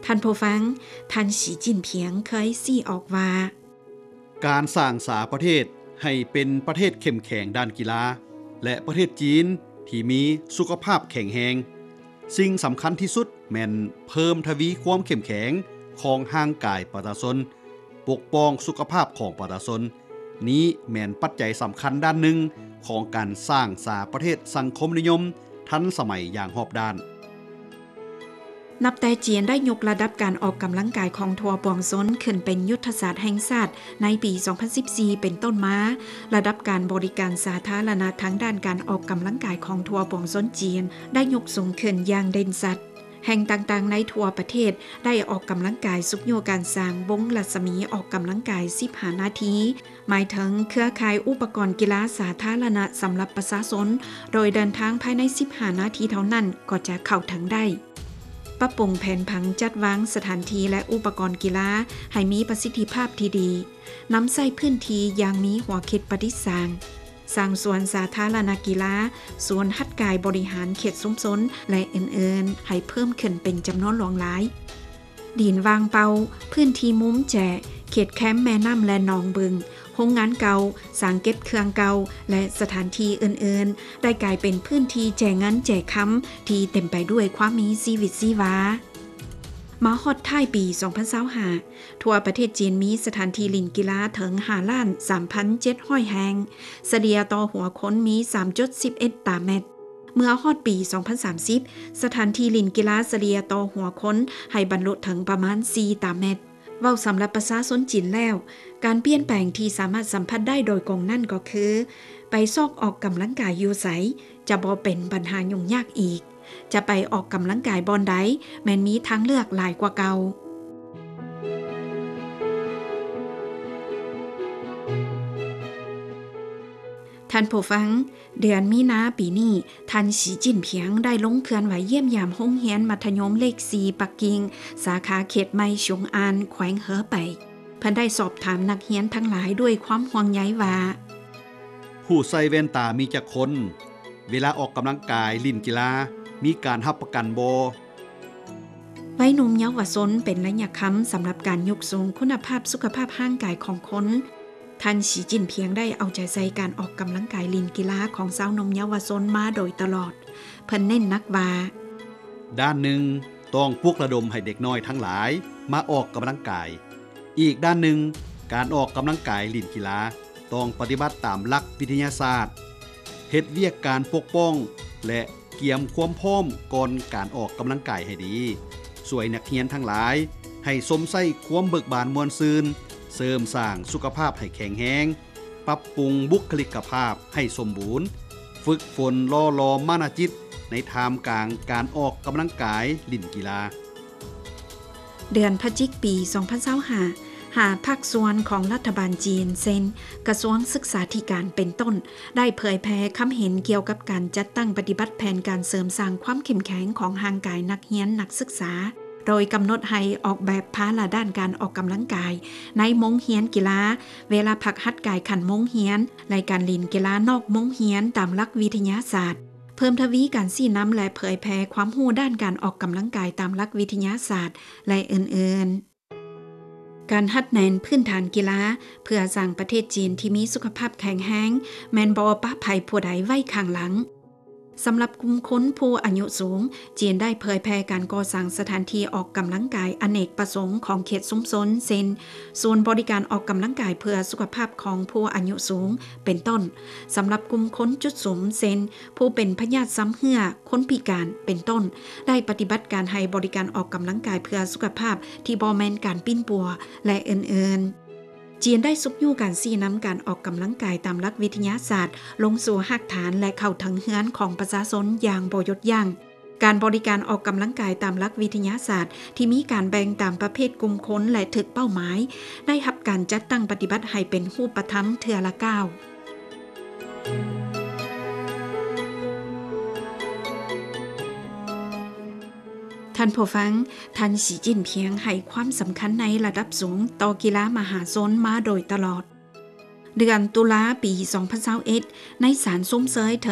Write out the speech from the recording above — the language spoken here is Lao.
ທ່ານຜູ້ຟັງ, ທ່ານ ສີ ຈິ້ນຜິງ ເຄີຍຊີ້ອອກວ່າ: ການສ້າງສາປະເທດໃຫ້ເປັນປະເທດເຂັ້ມແຂງດ້ານກິລາ ແລະ ປະເທດຈີນທີ່ມີສຸຂະພາບແຂງແຮງ, ສິ່ງສຳຄັນທີ່ສຸດແມ່ນເພີ່ມທະວີຄວາມເຂັ້ມແຂງຂອງຮ່າງກາຍປະຊາຊົນ, ປົກປ້ອງສຸຂະພາບຂອງປະຊາຊົນ. ນີ້ແມ່ນປັດໄຈສຳຄັນດ້ານໜຶ່ງຂອງການສ້າງສາປະເທດສັງຄົມນິຍົມທັນສະໄໝຢ່າງຮອບດ້ານ. ນັບແຕ່ຈີນໄດ້ຍົກລະດັບການອອກກຳລັງກາຍຂອງທົ່ວປວງຊົນຂຶ້ນເປັນຍຸດທະສາດແຫ່ງຊາດໃນປີສອງພັນສິບສີ່ເປັນຕົ້ນມາ, ລະດັບການບໍລິການສາທາລະນະທາງດ້ານການອອກກຳລັງກາຍຂອງທົ່ວປວງຊົນຈີນໄດ້ຍົກສູງຂຶ້ນຢ່າງເດັ່ນຊັດ. ແຫ່ງຕ່າງໆໃນທົ່ວປະເທດໄດ້ອອກກຳລັງກາຍຊຸກຍູ້ການສ້າງວົງລັດສະໝີອອກກຳລັງກາຍສິບຫ້ານາທີ, ໝາຍເຖິງເຄືອຂ່າຍອຸປະກອນກິລາສາທາລະນະສຳລັບປະຊາຊົນ, ໂດຍເດີນທາງພາຍໃນສິບຫ້ານາທີເທົ່ານັ້ນກໍຈະເຂົ້າເຖິງໄດ້. ປັບປຸງແຜນຜັງຈັດວາງສະຖານທີ່ ແລະ ອຸປະກອນກິລາໃຫ້ມີປະສິດທິພາບທີ່ດີ, ນຳໃຊ້ພື້ນທີ່ຢ່າງມີຫົວຄິດປະດິດສ້າງ, ສ້າງສວນສາທາລະນະກິລາ, ສວນຫັດກາຍບໍລິຫານເຂດຊຸມຊົນ ແລະ ອື່ນໆ ໃຫ້ເພີ່ມຂຶ້ນເປັນຈຳນວນຫຼວງຫຼາຍ. ດິນວ່າງເປົ່າ, ພື້ນທີ່ມຸມແຈ, ເຂດແຄມແມ່ນ້ຳ ແລະ ໜອງບຶງ, ໂຮງງານເກົ່າ, ສາງເກັບເຄື່ອງເກົ່າ ແລະ ສະຖານທີ່ອື່ນໆ ໄດ້ກາຍເປັນພື້ນທີ່ແຈເງິນແຈຄຳທີ່ເຕັມໄປດ້ວຍຄວາມມີຊີວິດຊີວາ. ມາຮອດທ້າຍປີສອງພັນຊາວຫ້າ, ທົ່ວປະເທດຈີນມີສະຖານທີ່ຫຼິ້ນກິລາເຖິງຫ້າລ້ານສາມພັນເຈັດຮ້ອຍແຫ່ງ, ສະເລ່ຍຕໍ່ຫົວຄົນມີສາມຈຸດສິບເອັດຕາແມັດ. ເມື່ອຮອດປີສອງພັນສາມສິບ, ສະຖານທີ່ຫຼິ້ນກິລາສະເລ່ຍຕໍ່ຫົວຄົນໃຫ້ບັນລຸເຖິງປະມານສີ່ຕາແມັດ. ເວົ້າສຳລັບປະຊາຊົນຈີນແລ້ວ, ການປ່ຽນແປງທີ່ສາມາດສຳຜັດໄດ້ໂດຍກົງນັ້ນກໍຄື ໄປຊອກອອກກຳລັງກາຍຢູ່ໃສ ຈະບໍ່ເປັນບັນຫາຫຍຸ້ງຍາກອີກ. ຈະໄປອອກກຳລັງກາຍບ່ອນໃດ ແມ່ນມີທາງເລືອກຫຼາຍກວ່າເກົ່າ. ທ່ານຜູ້ຟັງ, ເດືອນມີນາປີນີ້ ທ່ານ ສີ ຈິ້ນຜິງ ໄດ້ລົງເຄື່ອນໄຫວຢ້ຽມຢາມໂຮງຮຽນມັດທະຍົມເລກສີ່ປັກກິ່ງ ສາຂາເຂດໃໝ່ຊຸງອານ ແຂວງເຮີໄປ. ເພິ່ນໄດ້ສອບຖາມນັກຮຽນທັງຫຼາຍດ້ວຍຄວາມຫ່ວງໃຍວ່າ: ຜູ້ໃສ່ແວ່ນຕາມີຈັກຄົນ? ເວລາອອກກຳລັງກາຍ, ຫຼິ້ນກິລາ, ມີການຮັບປະກັນບໍ່? ໄວໜຸ່ມເຍົາວະຊົນເປັນໄລຍະຄຳສຳລັບການຍົກສູງຄຸນນະພາບສຸຂະພາບຮ່າງກາຍຂອງຄົນ. ທ່ານ ສີ ຈິ້ນຜິງ ໄດ້ເອົາໃຈໃສ່ການອອກກຳລັງກາຍ, ຫຼິ້ນກິລາຂອງຊາວໜຸ່ມເຍົາວະຊົນມາໂດຍຕະຫຼອດ. ເພິ່ນເນັ້ນໜັກວ່າ: ດ້ານໜຶ່ງ, ຕ້ອງປຸກລະດົມໃຫ້ເດັກນ້ອຍທັງຫຼາຍມາອອກກຳລັງກາຍ. ອີກດ້ານໜຶ່ງ, ການອອກກຳລັງກາຍ, ຫຼິ້ນກິລາ ຕ້ອງປະຕິບັດຕາມຫຼັກວິທະຍາສາດ, ເຮັດວຽກການປົກປ້ອງ ແລະ ກຽມຄວາມພ້ອມກ່ອນການອອກກຳລັງກາຍໃຫ້ດີ, ຊ່ວຍນັກຮຽນທັງຫຼາຍໃຫ້ຊົມໃຊ້ຄວາມເບີກບານມ່ວນຊື່ນ, ເສີມສ້າງສຸຂະພາບໃຫ້ແຂງແຮງ, ປັບປຸງບຸກຄະລິກກະພາບໃຫ້ສົມບູນ, ຝຶກຝົນຫຼໍ່ຫຼອມມານະຈິດໃນທ່າມກາງການອອກກຳລັງກາຍ, ຫຼິ້ນກິລາ. ເດືອນພະຈິກ ປີສອງພັນຊາວຫ້າ, ຫ້າພາກສ່ວນຂອງລັດຖະບານຈີນ ເຊັ່ນ ກະຊວງສຶກສາທິການເປັນຕົ້ນ ໄດ້ເຜີຍແຜ່ຄຳເຫັນກ່ຽວກັບການຈັດຕັ້ງປະຕິບັດແຜນການເສີມສ້າງຄວາມເຂັ້ມແຂງຂອງຮ່າງກາຍນັກຮຽນນັກສຶກສາ, ໂດຍກຳນົດໃຫ້ອອກແບບພາລະດ້ານການອອກກຳລັງກາຍໃນໂມງຮຽນກິລາ, ເວລາພັກຫັດກາຍຂັ້ນໂມງຮຽນ ແລະ ການຫຼິ້ນກິລານອກໂມງຮຽນຕາມຫຼັກວິທະຍາສາດ, ເພີ່ມທະວີການຊີ້ນຳ ແລະ ເຜີຍແຜ່ຄວາມຮູ້ດ້ານການອອກກຳລັງກາຍຕາມຫຼັກວິທະຍາສາດ ແລະ ອື່ນໆ. ການຮັດແໜ້ນພື້ນຖານກິລາເພື່ອສ້າງປະເທດຈີນທີ່ມີສຸຂະພາບແຂງແຮງ ແມ່ນບໍ່ປະໃຜຜູ້ໃດໄວ້ຂ້າງຫຼັງ. ສຳລັບກຸ່ມຄົນຜູ້ອາຍຸສູງ, ຈີນໄດ້ເຜີຍແຜ່ການກໍ່ສ້າງສະຖານທີ່ອອກກຳລັງກາຍອະເນກປະສົງຂອງເຂດຊຸມຊົນ ເຊັ່ນ ສູນບໍລິການອອກກຳລັງກາຍເພື່ອສຸຂະພາບຂອງຜູ້ອາຍຸສູງ ເປັນຕົ້ນ, ສຳລັບກຸ່ມຄົນຈຸດສຸມ ເຊັ່ນ ຜູ້ເປັນພະຍາດຊຳເຮື້ອ, ຄົນພິການ ເປັນຕົ້ນ, ໄດ້ປະຕິບັດການໃຫ້ບໍລິການອອກກຳລັງກາຍເພື່ອສຸຂະພາບທີ່ບໍ່ແມ່ນການປິ່ນປົວ ແລະ ອື່ນໆ. ຈີນໄດ້ຊຸກຍູ້ການຊີ້ນຳການອອກກຳລັງກາຍຕາມຫຼັກວິທະຍາສາດລົງສູ່ຮາກຖານ ແລະ ເຂົ້າເຖິງເຮືອນຂອງປະຊາຊົນຢ່າງບໍ່ຢຸດຢັ້ງ. ການບໍລິການອອກກຳລັງກາຍຕາມຫຼັກວິທະຍາສາດທີ່ມີການແບ່ງຕາມປະເພດກຸ່ມຄົນ ແລະ ຖືກເປົ້າໝາຍ ໄດ້ຮັບການຈັດຕັ້ງປະຕິບັດໃຫ້ເປັນຮູບປະທຳເທື່ອລະກ້າວ. ທ່ານຜູ້ຟັງ, ທ່ານ ສີ ຈິ້ນຜິງ ໃຫ້ຄວາມສຳຄັນໃນລະດັບສູງຕໍ່ກິລາມະຫາຊົນມາໂດຍຕະຫຼອດ. ເດືອນຕຸລາ ປີສອງພັນຊາວເອັດ ໃນສານຊົມເຊີຍ